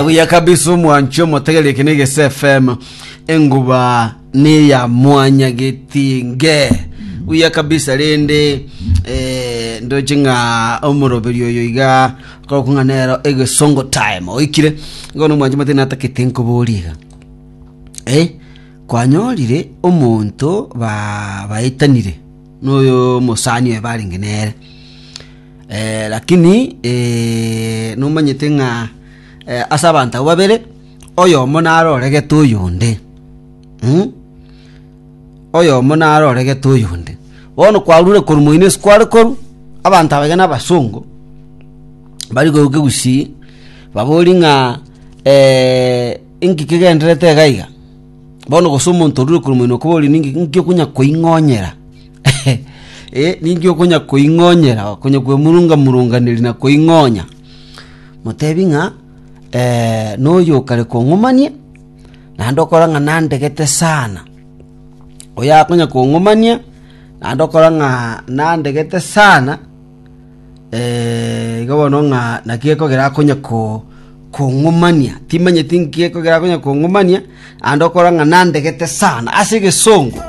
Buya kabisa omwanchi omotegereri eke ne FM enguba neya mwanyagetinge buya kabisa rende eh, ndoche ng'a omoroberi oyo iga korokwa ng'a nero egesongo time oikire igo nomwanchi omotebia natakete nkoborie iga eh, kwanyorire omonto ba baetanire noyo omosani oye barenge nere Eh, lakini eh, nomanyete ng'a eh, ase abanto abwo babere oyomo naroregete oyonde mm? oyomo naroregete oyonde bono kwarure korwa moino ase kware korwa abanto abaiga na abasongo bari korwa kegusii babori ng'a eh, inki kegenderete iga iga bono gose omonto orure korwa moino okobori ninki nki okonya koing'onyera Eh, ninki okonya koing'onyera okonya kwemurunga murunganeri na koing'onya motebi ng'a eh, noyo okare kong'umania naende okora ng'a nandegete sana oyo akonya kong'umania naende okora ng'a nandegete sana eh, igo bono ng'a naki ekogera akonya ko kong'umania timanyeti nki ekogera akonya kong'umania naende okora ng'a nandegete sana ase egesongo.